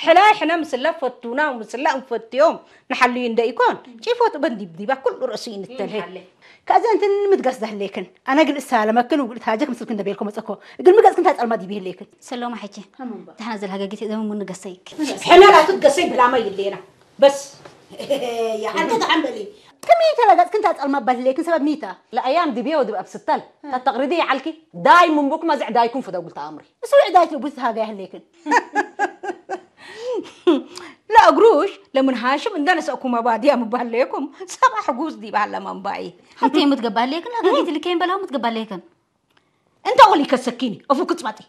ሕላይ ሕነ ምስለ ፈቱና ምስለ እንፈትዮም ንሓልዩ እንደ ይኮን ጪፎት በንዲብዲባ ኩሉ ርእሱ ይንተልሄ። ከዚ እንትን ምትገስ ዘህሌክን ኣነ ግን እሳለመክን ውግድ ታጀክ ምስልክን ደቤልኮ መጸኮ ግን ምገጽክን ታጸልማ ዲብ ይህሌክን። ሰሎማ ሕጂ ታና ዘልሃገጊት ዘመን ምንገሰይክ። ሕነ ላቱ ትገሰይ ብላማ ይሌና በስ ያሓንተ ተሓንበሊ። ከመይ ተለገጽክን ታጸልማ ባልሌክን ሰበብ ሚታ። ለአያም ድቤ ወድብ ኣብስተል ተተቅርዲ ይዓልኪ ዳይ ምንቡክ መዝዕ ዳይኩም ፍደጉል ተኣምሪ። እሱ ዕዳይት ልቡስ ሃጋ ያህሌክን። ለእግሩሽ ለምን ሃሽም እንደነሰእኩም ኣባድያ ምባለየኩም ሰባ ሕጉስ ዲባለ መንባይ። ሓንቲ የምትገባለየክን ለገጊት ልከይን በላው ምትገባለየክን። እንተ ወሊ ከሰኪኒ እፉ ክጽባጢ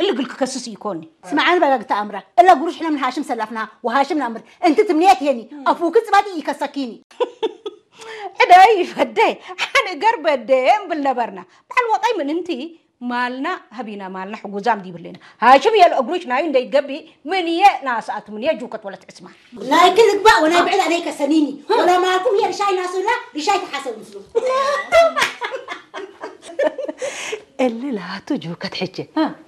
እልግል ክከስስ ይኮኒ። ስምዓኒ በጋግ ተኣምራ እላ ጉሩሽ ሕነ ምን ሃሽም ሰላፍና ወሃሽም ናምር እንቲ ትምንየት ሄኒ ኣፉ ክጽባጢ ይከሰኪኒ። ዕደይ ፈደይ ሓንገር በደየ እምብል ነበርና። በዓል ወቀይ ምን እንቲ ማልና ሀቢና ማልና ሕጉዛም ዲብሌና ሃሽም የል እግሩሽ ናዩ እንደይገቢ ምን የ ናስኣት ምን የጁከት ወለት ዕስማ ናይ ክልግባእ ወናይ ብዕዳ ናይ ከሰኒኒ ወላ ማልኩም የ ርሻይ ናሱላ ርሻይ ተሓሰብ ምስሉ እሊ ላቱ ጁከት ሕጀ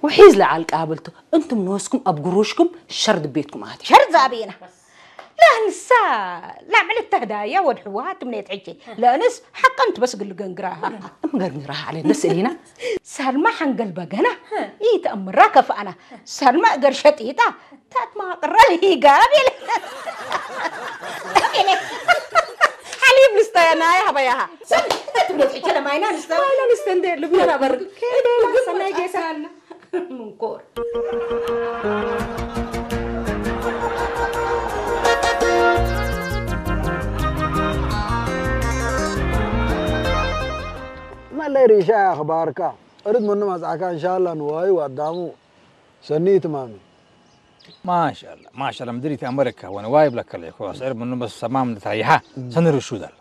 ውሒዝ ለዓል ቃብልቱ እንቱም ንወስኩም ኣብ ጉሩሽኩም ሸር ድቤትኩም ኣቲ ሸር ዛቤና ላንሳ ላዕመል ተህዳያ ወድ ሕወሓት ምኔት ሕጂ ለእንስ ሓቀን ትበስግል ገንግራሃ እምገርግራሃ ዓለ ነስእሊና ሳልማ ሓንገል በገና ኢተእምራ ከፍኣና ሳልማ እገር ሸጢጣ ታት ማቅረል ሂጋብ የለ ሓሊብ ንስተያ ናይ ሃበያሃ ሰብት ትብሎ ትሕቸለ ማይና ንስተ ማይና ንስተ እንደ ልብና በር ሰናይ ጌሳ ምንኮር መለይ ሪሻ ኣኽባርካ እርድ መኑ ማጽዓካ እንሻላ ንዋዩ ኣዳሙ ሰኒ ትማሚ ማሻላ ማሻላ ምድሪት ኣመሪካ ወነ ዋይ ብለከለ ኮ ስዕር ምኑ በስ ሰማም ንትራይሓ ሰንር ሹዳል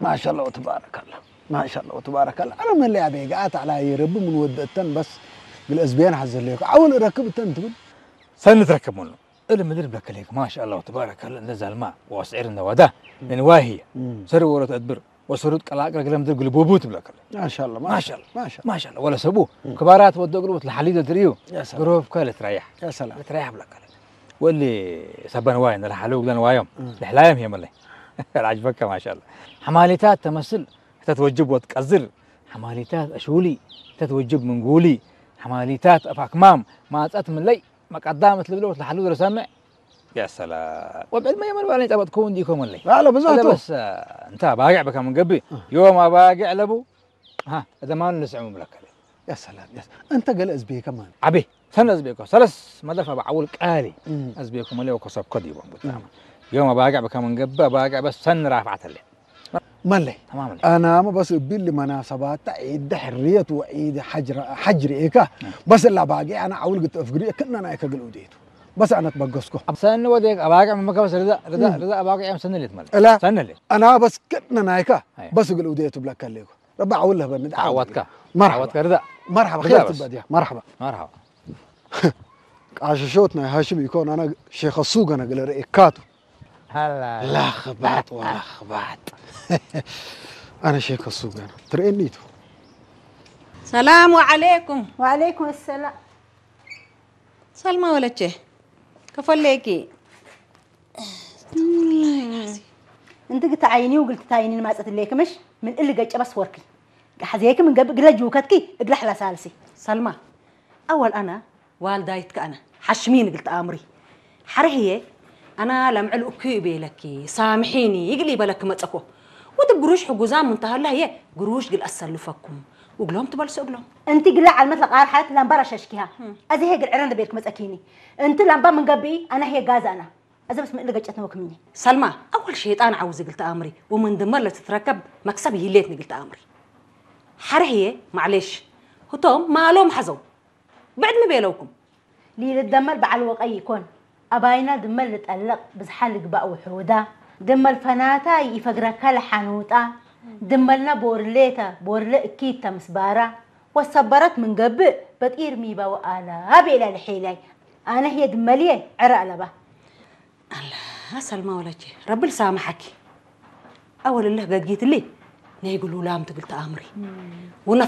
ማሻላ ወተባረካላ ማሻላ ወተባረካላ ኣነ መለያ ቤጋ ኣታዕላ ይረብ ምን ወደተን በስ ግል እዝቤን ሓዘለይኩ ዓውል ረክብ ተን ትብል ሰኒ ትረከብ ምኑ እለ ምድር ብለከለ ማሻላ ወተባረካላ እንደ ዛልማ ወስዕር እንደ ዋዳ ምን ዋሂ ሰሪ ወረት ኣድብር ወሰሩት ቀላቅል ግለም ድር ግልቡቡ ትብለከለ ማሻላ ማሻላ ማሻላ ማሻላ ወለ ሰቡ ክባራት ወደ ግልቡት ለሐሊደ ትርእዩ يا سلام ግሮብ ከለ ትራያሕ يا سلام ትራያሕ ብለከለ ወሊ ሰበን ዋይ ነለ ሐሉ ግለን ዋዮም ለሕላዮም ሄመለ العجبك ما شاء الله حماليتات تمثل تتوجب وتقزر حماليتات أشولي تتوجب من قولي حماليتات أفاكمام ما أتت من لي መቀዳመት ልብለ ወትለሓሉ ዝረሰምዕ ያሰላ ወብዕድ መየመን ባለኝ ጠበጥኩ እንዲኮም ወለይ لا لا ብዙሕ በስ እንታ ባግዕ በካ መንገቢ ዮም ኣባግዕ ለቡ እደማኑ ንስዕሙ ብለከለ ያሰላ እንተ ገለ እዝቤ ከማን ዓቤ ሰነ እዝቤኮ ሰለስ መደፈ በዓውል ቃሊ እዝቤኮ መለ ወኮሰብኮ ዲቦም ብጣም ዮም ኣባግዕ በካ መንገቢ ኣባግዕ በስ ሰን ራፍዓተለ ملي تماما انا ما بس بيل مناسبات عيد حريه وعيد حجر حجر ايكا بس لا باقي انا عول قلت افقري كنا انا ايكا قلو ديتو بس انا تبقسكو ሰኒ ወደ ኣባግዕ መመካ በስ ርዛ ርዛ ርዛ ኣባግዕ እዮም ሰኒ ሌት ማለት لا ሰኒ ሌት انا بس كنا نايكا أي. بس قلو ديتو بلاك ليكو ربع عول له بند عاودك عاودك رداء مرحبا خير تبديا مرحبا مرحبا قاش شوتنا هاشم يكون انا شيخ السوق انا قال رئيكاتو هلا لخبط ولخبط انا شيخ السوق انا ترينيتو السلام عليكم وعليكم السلام سلمى ولتشي كفليكي انت قلت عيني وقلت عيني ما صرت ليك مش من اللي قلت بس وركي حزيك من قبل قلت جوكتكي اقلح لا سالسي سلمى اول انا ዋልዳይት ከኣነ ሓሽሚኒ ግል ተኣምሪ ሓረህየ ኣና ለምዕል እኩ ቤለኪ ሳምሒኒ ይግል ይበለኪ መጸኮ ወትብ ግሩሽ ሕጉዛም እንተሃላ ህየ ግሩሽ ግል ኣሰልፈኩም ውግሎም ትበልሶ እግሎም እንቲ ግላ ዓልመት ለቃር ሓለት ላምባ ራሻሽኪሃ ኣዚ ህየ ግል ዕረ እንደቤልክ መጸኪኒ እንቲ ላምባ ምን ገብኢ ኣና ህየ ጋዝ ኣና ኣዘ በስ ምእሊ ገጨት ነወክምኒ ሰልማ ኣወል ሸይጣን ዓውዚ ግል ተኣምሪ ወመን ድማ ለትትረከብ መክሰብ ይህሌት ንግል ተኣምሪ ሓረህየ ማዕሌሽ ህቶም ማሎም ሓዘው ብዕድሚ ቤለውኩም ሊልደመል በዓል ወቀይ ይኮን ኣባይና ድመል ልጠልቕ ብዝሓ ልግባእ ውሑዳ ድመል ፈናታ ይኢፈግረካ ለሓኑጣ ድመልና ቦርሌተ ቦርለ እኪት ተምስባራ ወሰበረት ምን ገብእ በጢር ሚባዊ ኣላ ቤላ ልሒላይ ኣነ ህየ ድመልየ ዕረ ኣለባ ኣላ ሰልማ ወለቼ ረብል ሳምሓኪ ኣወልልህ ገጊትሊ ነይ ግሉላም ትብል ተኣምሪ ውነ